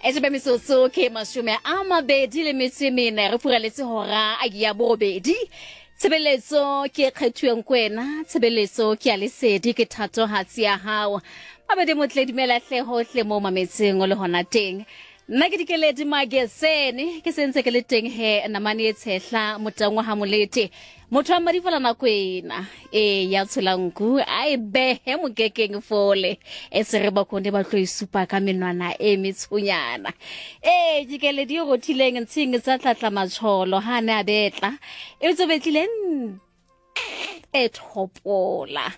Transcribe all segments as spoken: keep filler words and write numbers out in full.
E metsotso ke mashome a mabedi le metso e mene re furaletse hora ya borobedi. Tshebeletso ke e kgethuweng ko wena, tshebeletso ke ya lesedi, ke thatohatsi ya hao. Mabedi motle, dumela hle hohle mo mametseng o le hona teng. Nna ke Dikeledi Magesene, ke sentse ke le teng he namane e tshehla motangwa ha molete. Motho wa mmadifala nako ena e ya tsholanku a e behe mokekeng fole e se re bakone ba tlo e supa ka menwana e metshonyana. Ee, Dikeledi e rothileng ntshing tsa tlatla matsholo ha ne a betla e tso betlile e thopola.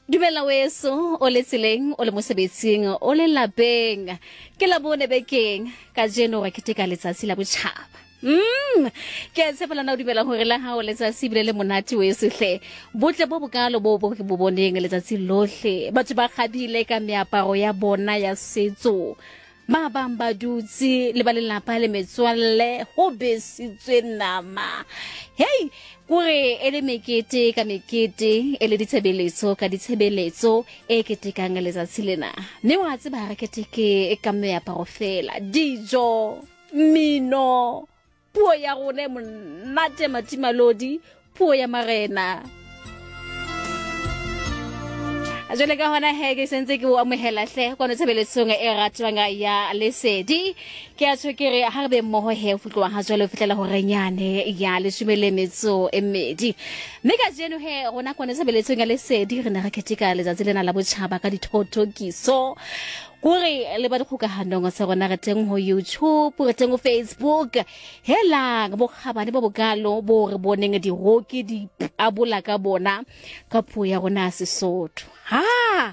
Dumela weso o le tseleng, o le mosebetsing, o le lapeng. Ke la bone bekeng kajeno re keteka letsatsi la botjhaba. Mm, ke a tshepa lana o dumela hore la hao letsatsi ebile le monate weso hle. Botle bo bokalo bo bo ke bo boneng letsatsi lohle. Batho ba kgabile ka meaparo ya bona ya setso. Ba bang ba dutse le ba lelapa le metswalle ho besitswe nama. Hey, kore e le mekete ka mekete, e le ditshebeletso ka ditshebeletso e ketekang letsatsi lena. Mme wa tseba re keteke ka meaparo fela, dijo, mmino, puo ya rona e monate matimalodi, puo ya marena. Jwale ka hona he ke sentse ke o amohela hle kwano tshebeletsong e ratwang ya Lesedi. Ke a tjho ke re ha re be mmoho he ho tloha ha jwale ho fihlela horenyane ya leshome le metso e mmedi. Mme kajeno he rona kwano tshebeletsong ya Lesedi re ne re keteka letsatsi lena la botjhaba ka dithothokiso. Kore le ba dikgokahanong tsa rona re teng ho YouTube, re teng ho Facebook. Helang bokgabane bo bokalo bo re boneng diroki di pabola ka bona ka puo ya rona ya Sesotho. Ha